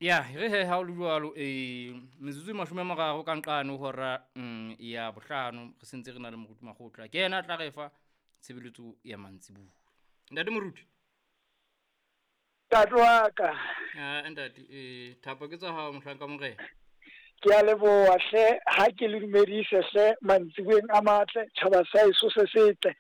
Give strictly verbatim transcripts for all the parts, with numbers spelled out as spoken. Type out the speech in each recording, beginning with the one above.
Ya re he ha o le jwalo, eh metsotso e mashome a mararo ka nqane ho hora mm, ya bohlano, re sentse re na le Moruti Makgotla, ke yena a tla re fa tshebeletso ya mantsibuya. Ntate Moruti. Ntate wa ka. Ah, ntate, eh thapo ke tsa hao mohlanka morena. Ke a leboha hle, ha ke le dumedise hle mantsibueng a matle, tjhaba sa heso se setle.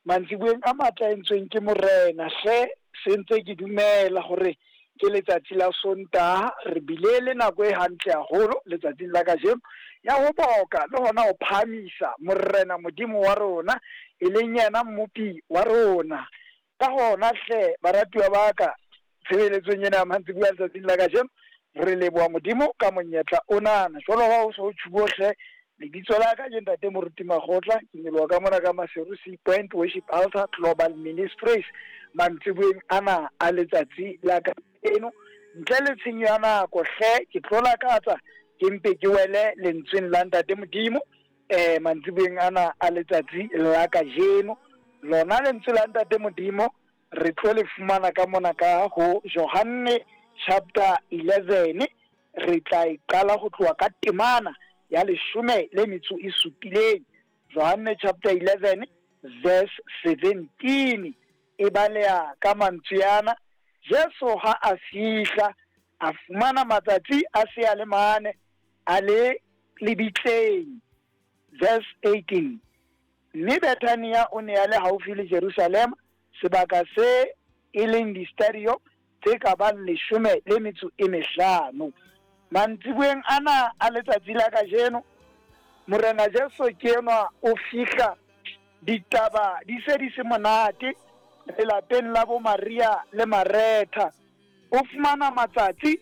Mantsibueng a matle a entsweng ke morena hle, se ntse ke dumela hore ke letsatsi la Sontaha, re bile le nako e hantle haholo letsatsing la kajeno ya ho boka le hona ho phahamisa morena Modimo wa rona, e leng yena mmopi wa rona. Ka hona hle baratuwa ba ka, tshebeletsong ena ya mantsibuya letsatsing la kajeno, re leboha Modimo ka monyetla onana. Jwalo ha ho so tjhubo hle, lebitso la ka ke Ntate Moruti Makgotla, ke nyoloha ka mona ka Maseru Sea Point Worship Altar Global Ministries mantsibueng ana a letsatsi la kajeno. Ntle le tshenyo ya nako hle, ke tlo lakatsa ke mpe ke wele lentsweng la Ntate Modimo eh mantsibueng ana a letsatsi la kajeno. Lona lentswe la Ntate Modimo re tlo le fumana ka mona ka ho Johanne chapter eleven, re tla e qala ho tloha ka temana ya leshome le metso e supileng. Johanne chapter eleven verse seventeen e baleha ka mantswe ana: Jesu ha a fihla a fumana matsatsi a se a le mane a le lebitleng. Verse eighteen, mme Bethania o ne a le haufi le Jerusalema, sebaka se e leng distadio tse ka bang leshome le metso e mehlano. Mantsibueng ana a letsatsi la kajeno, Morena Jesu ke enwa o fihla, ditaba di se di se monate lelapeng la bo Maria le Maretha. O fumana matsatsi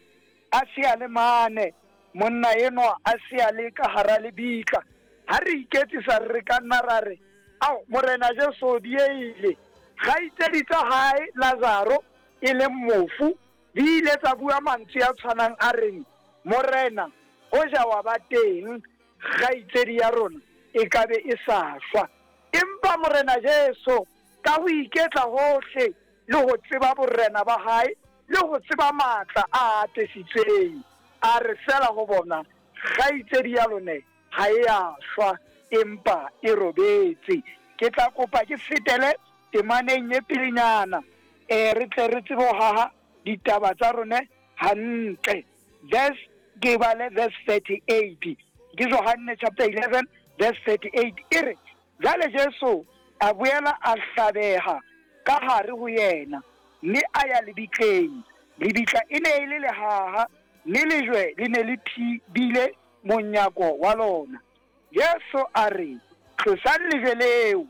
a se a le mane, monna enwa a se a le ka hara lebitla. Ha re iketsisa re ka nna ra re, ao Morena Jesu o dieile. Kgaitsedi tsa hae Lazaro e leng mofu di ile tsa bua mantswe a tshwanang a reng, Morena, hoja wa ba teng, kgaitsedi ya rona e ka be e sa shwa. Empa Morena Jesu ka ho iketla hohle le ho tseba borena ba hae le ho tseba matla a atesitsweng, a re fela ho bona, kgaitsedi ya lone ha e a shwa, empa e robetse. Ke tla kopa ke fetele temaneng e pelenyana, eh re tle re tsebe ho haha ditaba tsa rone hantle. Verse, ke bale verse thirty-eight, ke Johanne chapter eleven verse thirty-eight, e re, jwale Jesu a boela a hlabeha ka hare ho yena, mme a ya lebitleng. Lebitla e ne e le lehaha, mme lejwe le ne le thibile monyako wa lona. Jesu a re, tlosang lejwe leo.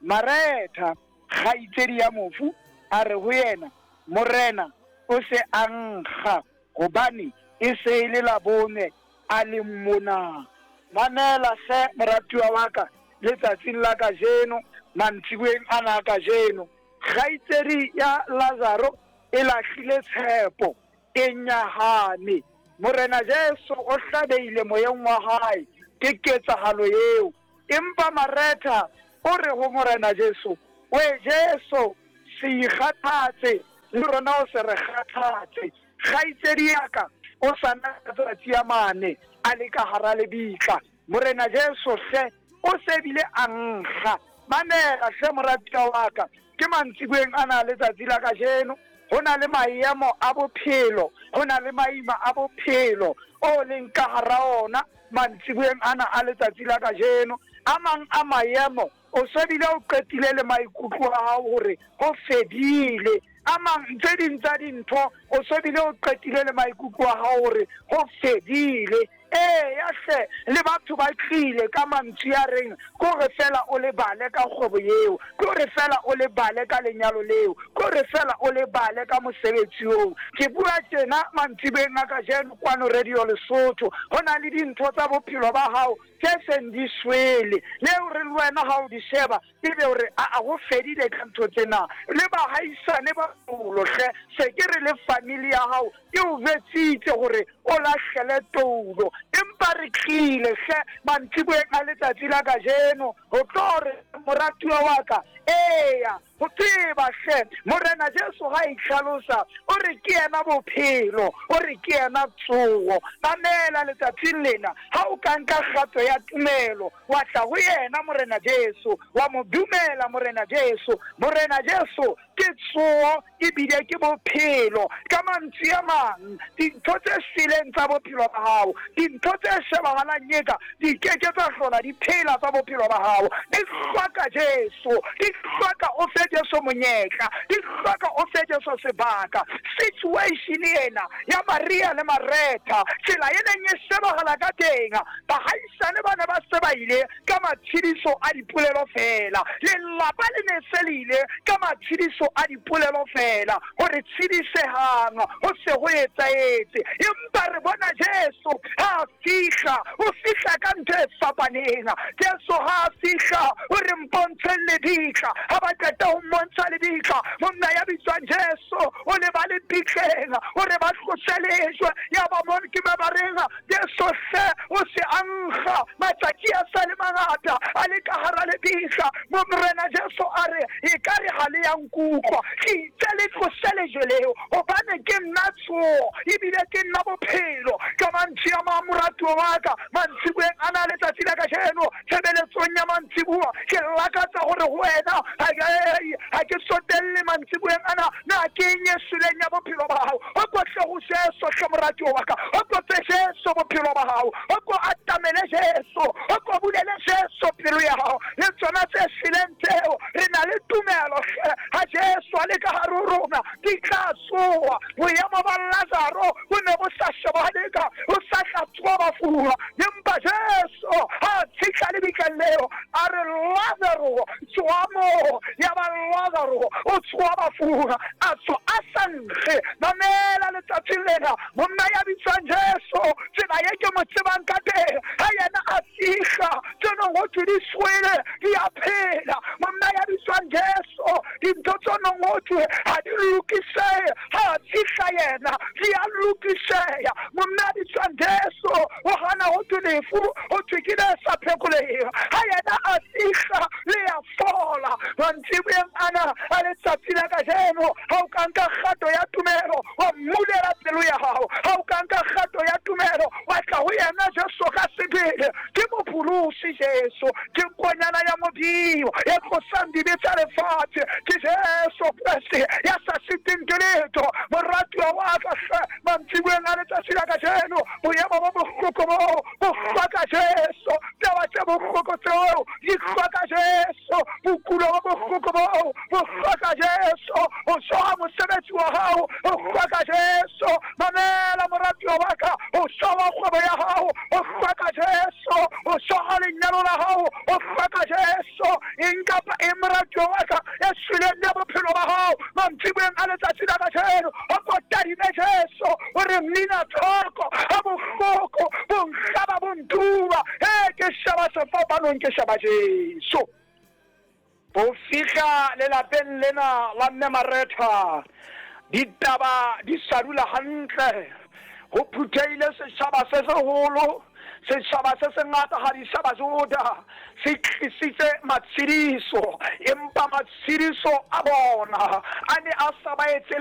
Maretha, kgaitsedi ya mofu, a re ho yena, Morena, o se a nkga, hobane e se e le labone a le mona. Mamela hle moratuwa wa ka letsatsing la kajeno, mantsibueng ana a kajeno. Kgaitsedi ya Lazaro e lahlile tshepo, e nyahame. Morena Jesu o hlabehile moyeng wa hae ke ketsahalo eo. Empa Maretha o re ho Morena Jesu, we Jesu, se ikgathatse, le rona o se re kgathatse. Kgaitsedi ya ka o sa na matsatsi a mane a le ka hara lebitla. Morena Jesu hle o se bile a nkga. Mamela hle moratuwa wa ka, ke mantsibueng ana letsatsi la kajeno. Ho na le maemo a bophelo, ho na le maima a bophelo o leng ka hara ona mantsibueng ana a letsatsi la kajeno. A mang a maemo o se bile o qetile le maikutlo a hao hore ho fedile. A mang tse ding tsa dintho o se bile o qetile le maikutlo a hao hore ho fedile. Eya hle, le batho ba tlile ka mantswe a reng kore fela o lebale ka kgwebo eo, kore fela o lebale ka lenyalo leo, kore fela o lebale ka mosebetsi oo. Ke bua tjena mantsibeng a kajeno kwano Radio Lesotho, ho na le dintho tsa bophelo ba hao tse seng di shwele, leo re le wena ha o di sheba ebe o re a ho fedile ka ntho tsena. Le bahaisane ba toulo hle, se ke re le family ya hao e o jwetsitse hore o lahlele toulo, empa re tlile hle mantsibueng a letsatsi la kajeno ho tlo re moratuwa wa ka, eya Ho tseba hle Morena Jesu ha itlhalosa, o re ke yena bophelo, o re ke yena tsoho. Mamela letsatsing lena, ha o ka nka kgato ya tumelo, wa tla ho yena Morena Jesu, wa mo dumela Morena Jesu. Morena Jesu ke tsoho ebile ke bophelo. Ka mantswe a mang, dintho tse shweleng tsa bophelo ba hao, dintho tse shebahalang eka di ke ke tsa hlola di phela tsa bophelo ba hao, di hloka Jesu, di hloka o fe Jesu monyetla, di hloka o fe Jesu sebaka. Situation ena ya Maria le Maretha, tsela e neng e shebahala ka teng, bahaisane ba ne ba se ba ile ka matshediso a dipolelo fela, lelapa le ne se le ile ka matshediso a dipolelo fela, hore tshedisehang ho se ho etsahetse. Empa re bona Jesu ha a fihla, o fihla ka ntho e fapaneng. Jesu ha a fihla, o re mpontsheng lebitla. Ha ba qeta ho mmontsha lebitla, monna ya bitswang Jesu o le ba lebitleng, o re ba tlose lejwe. Ya ba mo ke ba ba reng, Jesu hle o se a nkga, matsatsi a sa le mangata a le ka hara lebitla. Mo Morena Jesu a re, ekare ha le ya nkutlwa, ke itse le tlose lejwe leo, hobane ke nna tsoho ebile ke nna bophelo. Ka mantswe a mang, moratuwa wa ka, mantsiboeng ana letsatsi la kajeno, tshebeletsong ya mantsiboa, ke lakatsa hore ho wena ha ke tsotelle mantsiboeng ana, na ke eng e shweleng ya bophelo ba hao. O ko tle ho Jesu hle moratuwa wa ka, o ko fe Jesu bophelo ba hao, o ko atamele Jesu, o ko bulele Jesu pelo ya hao. Le tsona tse shweleng tseo, re na le tumelo hle ha Jesu a le ka hare ho rona, di tla tsoha. Boemo ba Lazaro bo ne bo sa shebahaleka, ho sa tla tsoha bafung, empa Jesu ha fihla lebitleng leo, a re Lazaro tsoha moo. Ya ba Lazaro o tsoha bafung, a tswa a sa nkge. Mamela letsatsing lena, monna ya bitswang Jesu, tsela ye ke mo tsebang ka teng, ha yena a fihla, tse nong ho thwe di shwele di a phela. Monna ya bitswang Jesu, dintho tse nong ho thwe ha di lokisehe, ha a fihla yena di a lokiseha. Monna ya bitswang Jesu o hana ho thwe lefu, ho thwe ke le sa phekoleheng, ha yena a fihla le a fola. Mantsiboeng ana a letsatsi la kajeno, ha o ka nka kgato ya tumelo, wa mmulela pelo ya hao, ha o ka nka kgato ya tumelo, wa tla ho yena Jesu ka sebele. Ke mopholosi Jesu, ke nkonyana ya Modimo ya tlosang dibe tsa lefatshe, ke Jesu Kreste ya sa siteng ke letho. Moratuwa wa ka hle, mantsiboeng a letsatsi la kajeno, boemo bo bohloko boo bo hloka Jesu, taba tse bohloko tseo di hloka Jesu, bokulo bo bohloko boo bo hloka Jesu, ho soha mosebetsi wa hao ho hloka Jesu. Mamela moratuwa wa ka, ho soha kgwebo ya hao ho hloka Jesu, ho soha lenyalo la hao ho hloka Jesu. Eng kapa eng moratuwa wa ka e shweleng ya bophelo ba hao, mantsiboeng a letsatsi la kajeno, o ko tadime Jesu, o re mmina thoko ha bohloko bo nhlaba bo ntuba, he ke sheba sefapanong, ke sheba Jesu. Ho fihla lelapeng lena la mme Maretha, ditaba di sa dula hantle. Ho phuthehile setjhaba se seholo, setjhaba se sengata ha di sa Bajuda, se tlisitse matshediso, empa matshediso a bona a ne a sa ba etse